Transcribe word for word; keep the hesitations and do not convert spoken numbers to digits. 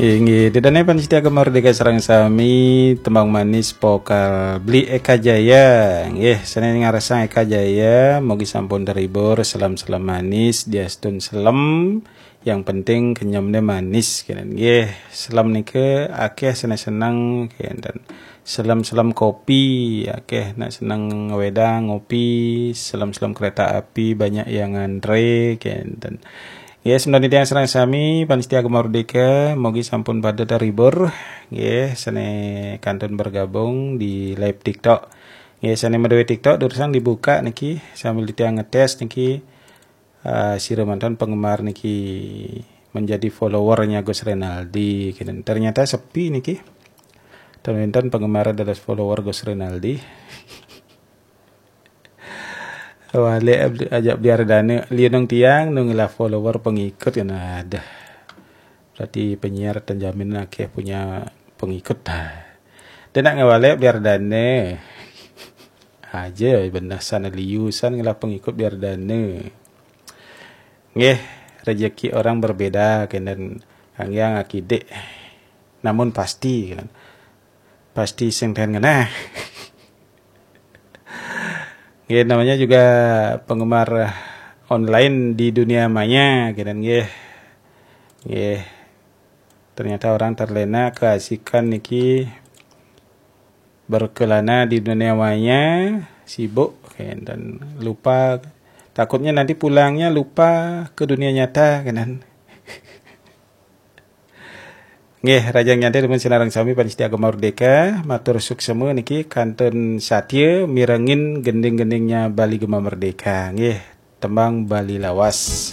Inggih, ida dané pamiarsa Gema Merdeka sareng sami, tembang manis vokal Bli Eka Jaya. Nggih, sané ngarsang Eka Jaya, mugi sampun terhibur, selem-selem manis, diastun selem, yang penting kenyemné manis, kénten. Nggih, selem nika akéh sané seneng, kénten. Selem-selem kopi, akéh nak seneng ngewedang, ngopi, selem-selem kereta api, banyak yang ngantre, kénten. Ya, semeton titiang sareng sami, pamiarsa Gema Merdeka, mugi sampun pada terhibur. Nggih, sané kantun bergabung di live TikTok. Nggih, sané madué TikTok, durusang dibuka niki, sambil titiang ngetes niki, eh, sira mantan penggemar niki menjadi followernya Gus Renaldi, kénten. Ternyata sepi niki. Ten wénten penggemar dados follower Gus Renaldi. Walik ajak Bli Ardana, liunung tiang nu ngelah follower pengikut kan, aduh. Berarti penyiar ten jamin akéh punya pengikut. Dah nak ngewalik Bli Ardana. Aja benah sana liusan ngelah pengikut Bli Ardana. Nggih, rezeki orang berbeda, kénten kanggé akidik. Namun pasti, kan. Pasti sing ten ngenah. Nggih, namanya juga penggemar online di dunia maya, kénten nggih. Nggih. Ternyata orang terlena keasikan niki berkelana di dunia maya, sibuk, kénten lupa. Takutnya nanti pulangnya lupa ke dunia nyata, kénten. Nggih, rahajeng nyantai dumun sinareng sami pamiarsa Gema Merdeka, matur suksma niki kantun satia mirengin gending-gendingnya Bali Gema Merdeka. Nggih, tembang Bali Lawas.